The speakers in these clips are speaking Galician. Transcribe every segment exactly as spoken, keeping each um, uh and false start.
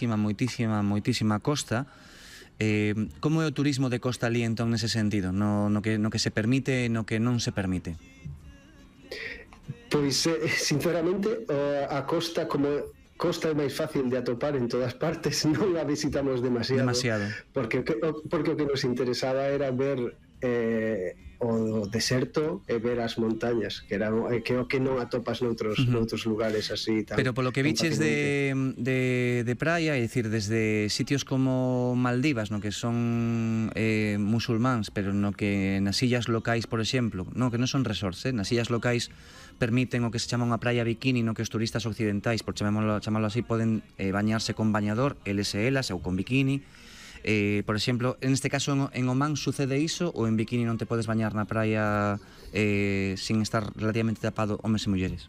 moitísima, moitísima, moitísima costa. Eh, como é o turismo de costa ali entón nese sentido, no, no, que, no que se permite e no que non se permite? Pois, eh, sinceramente, a costa como costa é máis fácil de atopar en todas partes, non a visitamos demasiado, demasiado. Porque, porque o que nos interesaba era ver eh, o deserto e ver as montañas, que era que o que non atopas noutros, uh-huh. noutros lugares así tan, pero polo que viches de, de, de praia, é dicir, desde sitios como Maldivas, no que son eh, musulmáns, pero no que nas illas locais, por exemplo, no que non son resorts, eh, nas illas locais permiten o que se chama unha praia bikini, no que os turistas occidentais, por chamémoslo, chamarlo así, poden eh, bañarse con bañador, eles e elas, ou con bikini. Eh, por exemplo, en este caso en, en Omán sucede iso, ou en bikini non te podes bañar na praia eh, sin estar relativamente tapado homes e mulleres?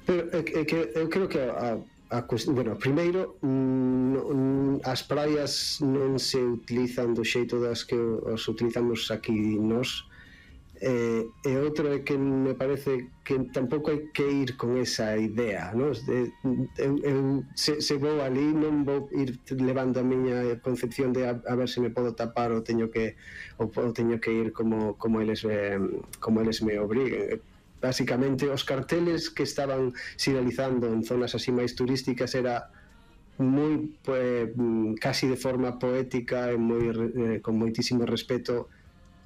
Pero é que, é que eu creo que a, a bueno, primeiro mm, as praias non se utilizan do xeito das que os utilizamos aquí nós. Eh, e outro é que me parece que tampouco hai que ir con esa idea, no? De, eu, eu, se, se vou ali non vou ir levando a miña concepción de a, a ver se me podo tapar ou teño que ou, ou teño que ir como, como eles eh, como eles me obriguen. Básicamente os carteles que estaban sinalizando en zonas así máis turísticas era moi pues, casi de forma poética e moi, eh, con moitísimo respeto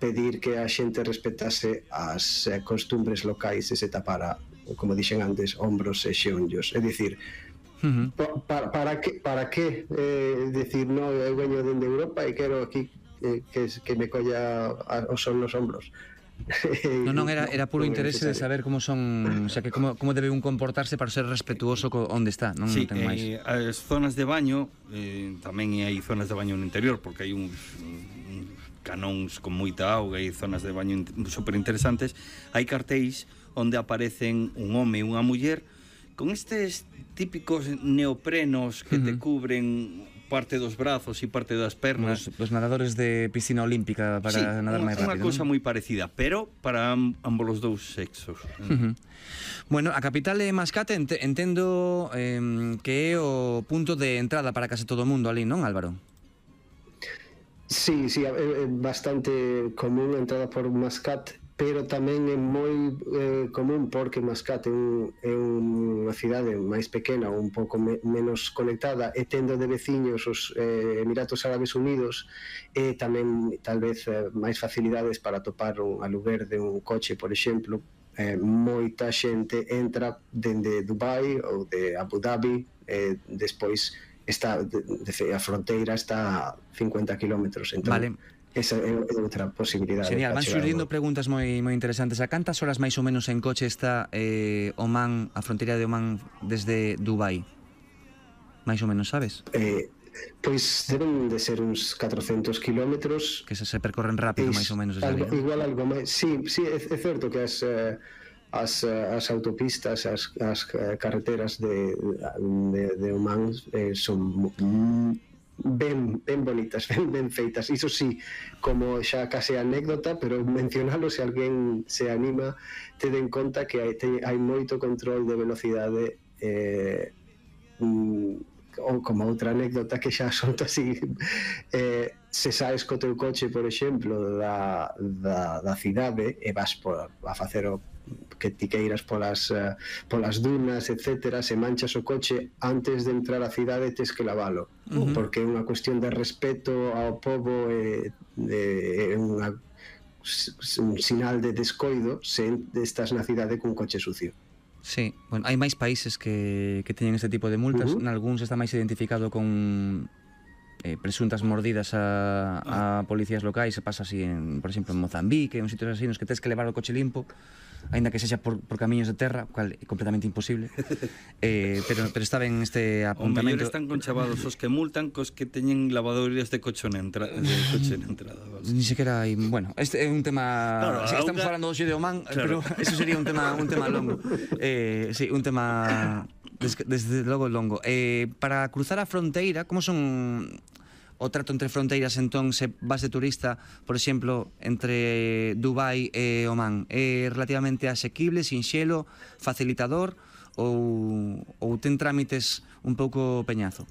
pedir que a xente respetase as eh, costumbres locais e se tapara, como dixen antes, ombros e xeonllos. É dicir, uh-huh. pa, para que, para que eh, decir, no, eu veño dende Europa e quero aquí eh, que, que me colla a, o sol nos ombros. Non, non, era, era puro interese de saber como son, o sea, que como, como debe un comportarse para ser respetuoso co onde está, non sí, ten máis. Eh, as zonas de baño, eh, tamén hai zonas de baño no interior, porque hai uns canóns con moita auga e zonas de baño super interesantes. Hai cartéis onde aparecen un home e unha muller con estes típicos neoprenos que uh-huh. te cubren parte dos brazos e parte das pernas. Os, os nadadores de piscina olímpica para sí, nadar máis rápido. Unha cousa ¿no? moi parecida, pero para ambos os dous sexos. Uh-huh. Bueno, a capital de Mascate ent entendo eh, que é o punto de entrada para case todo o mundo ali, non, Álvaro? Sí, sí, é bastante común a entrada por Mascate, pero tamén é moi eh, común porque Mascate é, un, é unha cidade máis pequena, un pouco me, menos conectada, e tendo de veciños os eh, Emiratos Árabes Unidos, e tamén tal vez eh, máis facilidades para topar un aluguer de un coche, por exemplo. Eh, moita xente entra dende Dubai ou de Abu Dhabi, e eh, despois está de, de, a fronteira está a cincuenta kilómetros, entón vale. Esa é outra posibilidade. Genial, van surdindo preguntas moi moi interesantes. A cantas horas máis ou menos en coche está eh, Omán, a fronteira de Omán desde Dubai? Mais ou menos, sabes? Eh, pois deben de ser uns catrocentos kilómetros. Que se, se percorren rápido, máis ou menos desde algo, ali, ¿no? Igual algo máis. Sí, sí, é, é certo que as eh, As, as autopistas, as, as carreteras de, de, de Omán eh, son ben, ben bonitas, ben, ben feitas. Iso sí, como xa case anécdota, pero mencionalo se alguén se anima, ten en conta que hai, te, hai moito control de velocidade, eh, ou como outra anécdota que xa solto así, eh, se saes co teu coche, por exemplo, da, da, da cidade e vas por, a facer o que ti queiras polas, uh, polas dunas, etcétera, se manchas o coche antes de entrar á cidade tes que lavalo, uh-huh. porque é unha cuestión de respeto ao pobo e é unha un sinal de descoido se estás na cidade cun coche sucio. Sí, bueno, hai máis países que, que teñen este tipo de multas, uh-huh. nalgúns está máis identificado con eh, presuntas mordidas a, a policías locais, se pasa así, en, por exemplo, en Mozambique, en sitios así nos que tens que levar o coche limpo, aínda que sexa por, por camiños de terra, cual é completamente imposible. eh, pero, pero está ben este apuntamento. O mellor están conchavados os que multan cos que teñen lavadorías de coche na entrada, de coche na entrada. Vale. Ni sequera hai, bueno, este é un tema, claro, si estamos falando hoxe de Omán, claro. Pero eso sería un tema un tema longo. Eh, sí, un tema desde, desde logo longo. Eh, para cruzar a fronteira, como son o trato entre fronteiras entón se vas de turista, por exemplo, entre Dubai e Omán? É relativamente asequible, sinxelo, facilitador ou, ou ten trámites un pouco peñazo?